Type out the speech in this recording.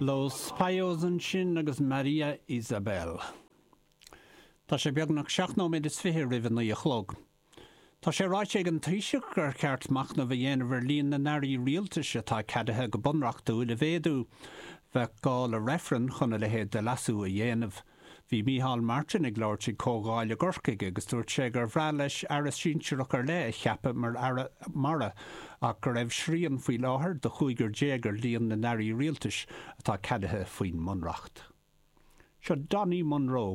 Los Payos ansin agus Maria Isabel. Tá sé beagnach seacht nóiméad is fiche roimh a naoi a chlog. Tá sé ráite ag an Taoiseach gur cheart machnamh a dhéanamh ar líon na n-airí rialtais atá ceadaithe go bunreachtúil a mhéadú. Bheadh gá le reifreann chun a leithéid de leasú a dhéanamh. Bhí Micheál Martin ag labhairt ag comhdháil i gCorcaigh agus dúirt sé gur bhreá leis aire sinsearach ar leith a cheapadh mar aire mara ach go raibh srian faoi láthair de chúigear déag ar líon na n-airí rialtais atá ceadaithe faoin mBunreacht. Seo Donnie Munro.